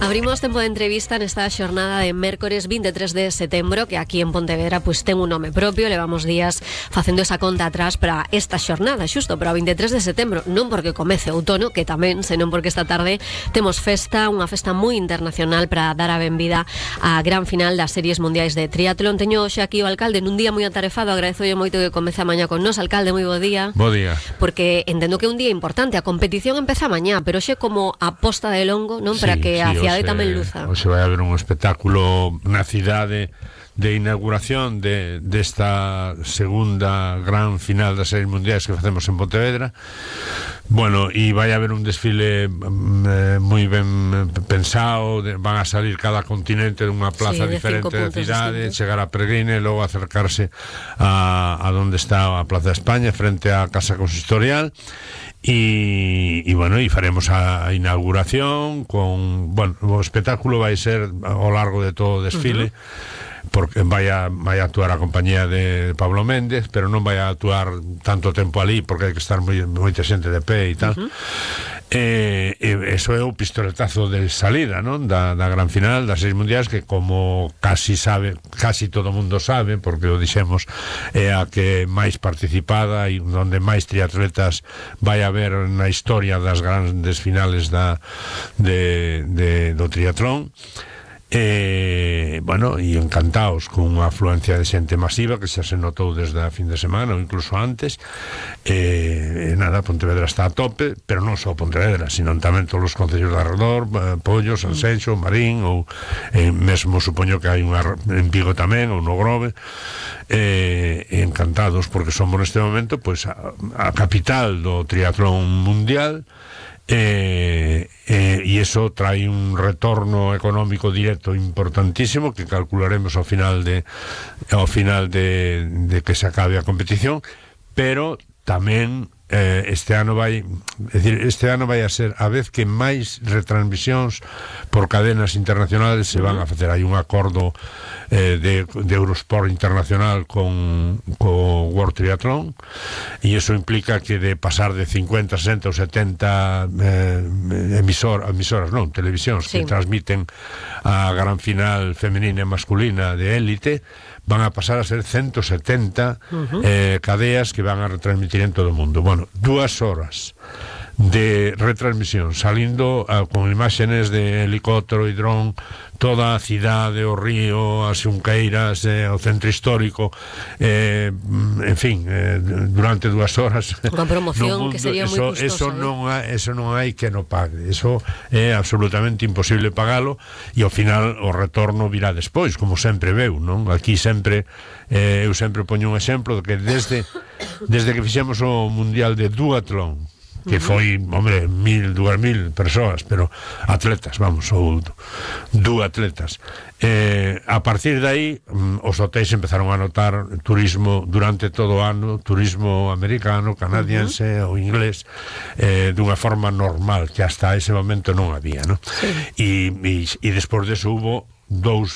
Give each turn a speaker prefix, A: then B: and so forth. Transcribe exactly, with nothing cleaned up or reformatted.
A: Abrimos tempo de entrevista nesta xornada de mércores vinte e tres de setembro, que aquí en Pontevedra pues, ten un nome propio. Levamos días facendo esa conta atrás para esta xornada, xusto para o vinte e tres de setembro, non porque comece o outono, que tamén, senón porque esta tarde temos festa, unha festa moi internacional para dar a benvida á gran final das series mundiais de triatlón. Teño hoxe aquí o alcalde nun día moi atarefado, agradezolle moito que comece a mañá con nos. Alcalde, moi bo día.
B: Bo día.
A: Porque entendo que é un día importante, a competición empeza mañá, pero hoxe como a posta de longo, non? Para
B: sí,
A: que
B: sí,
A: a cidade
B: hoxe,
A: tamén luza.
B: Hoxe vai haber un espectáculo na cidade de inauguración de desta segunda gran final das series mundiais que facemos en Pontevedra. Bueno, e vai haber un desfile eh, moi ben pensado, de, van a salir cada continente dunha plaza
A: sí,
B: diferente da cidade,
A: distintos.
B: chegar a Peregrine e logo acercarse a, a donde está a Plaza de España, frente á Casa Consistorial. E, e bueno, e faremos a inauguración con, bueno, o espectáculo vai ser ao largo de todo o desfile. Uh-huh. Porque vai a, vai a actuar a compañía de Pablo Méndez, pero non vai a actuar tanto tempo ali, porque hai que estar moi, moita xente de pé e tal. Uh-huh. E, e eso é o pistoletazo de salida, non? Da, da gran final das seis mundiais, que como casi sabe, casi todo mundo sabe, porque o dixemos, é a que máis participada e onde máis triatletas vai haber na historia das grandes finales da, de, de, do triatlón. E, bueno, e encantados con unha afluencia de xente masiva que xa se notou desde a fin de semana ou incluso antes. E, e nada, Pontevedra está a tope, pero non só Pontevedra, sino tamén todos os concellos de arredor, Pollo, Sanxenxo, Marín, ou e mesmo supoño que hai unha en Vigo tamén, ou no Grove. E, e encantados porque somos neste momento pois a, a capital do triatlón mundial. E, e, e iso trae un retorno económico directo importantísimo que calcularemos ao final de ao final de, de que se acabe a competición, pero tamén eh, este ano vai, é dicir, este ano vai a ser a vez que máis retransmisións por cadenas internacionales se van a facer. Hai un acordo eh, de, de Eurosport Internacional con, con World Triathlon, e iso implica que de pasar de cincuenta, sesenta ou setenta eh, emisor, emisoras, non, televisións sí. que transmiten a gran final femenina e masculina de élite, van a pasar a ser ciento setenta uh-huh. eh, cadeas que van a retransmitir en todo o mundo. Bueno, dúas horas de retransmisión salindo uh, con imágenes de helicóptero e dron, toda a cidade, o río, as Xunqueiras, eh, o centro histórico, eh, en fin, eh, durante dúas horas
A: unha promoción
B: mundo,
A: que sería moi
B: eso,
A: custosa,
B: eso,
A: eh?
B: non hai, eso non hai que no pague, eso é absolutamente imposible pagalo, e ao final o retorno virá despois, como sempre veu, non? Aquí sempre eh, eu sempre poño un exemplo de que desde desde que fixemos o Mundial de Duatlón, que foi, hombre, mil, dúas mil persoas, pero atletas, vamos, ou duatletas. Eh, a partir de aí, os hotéis empezaron a notar turismo durante todo o ano, turismo americano, canadiense uh-huh. ou inglés, eh, dunha forma normal, que hasta ese momento non había, ¿no? Sí. E, e, e despois deso hubo dous